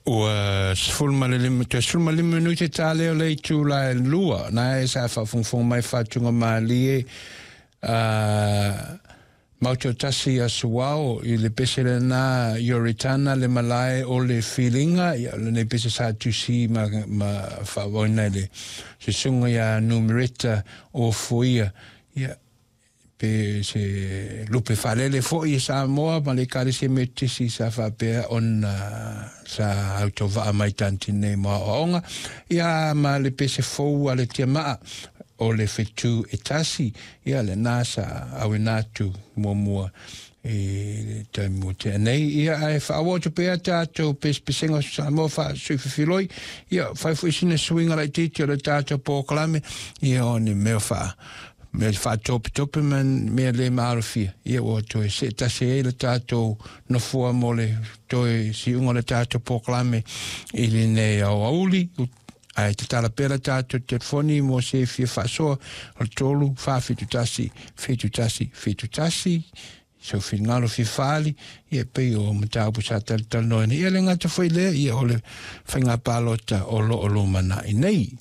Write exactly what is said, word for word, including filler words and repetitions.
Ua sefulu ma le lima toe sefulu ma lima minute ta lea o le itula e lua na e sa faafogafoga mai faatugamalie a mautotasi asuao i le pese lena Ioritana le malae o le filiga. Ia lenei pese sa tusi ma, ma faaauauina e le susuga ia Numereta o Foia, ia pe se lupe faalele fo'i e Samoa ma le Ekalesia Metotisi sa faapea ona sa autovaa mai Tanitinei mo aoaoga, ia ma le pese fou a le Tiamaa o le fetu e tasi. Ia lena sa auina atu muamua i le taimi ua tea nei. Ia ae faaauau atu pea tatou pesepesega o Samoa faasuififiloi. Ia fai fo'i sina suiga laitiiti o le tatou polokalame, ia o ni mea faa mea faatopetope ma mea le maalofia, ia ua toe seetasi ai le tatou nofoa mo le toe siuga o le tatou polokalame i lenei aoauli. Ae tatala pea le tatou telefoni mo se fia faasoa o le tolu fa fitu tasi fitu tasi fitu tasi sou finagalo fia faaali, ia pei o mataupu sa talatalanoaina. Ia le gata foi lea, ia o le faiga palota o loo lumanai nei.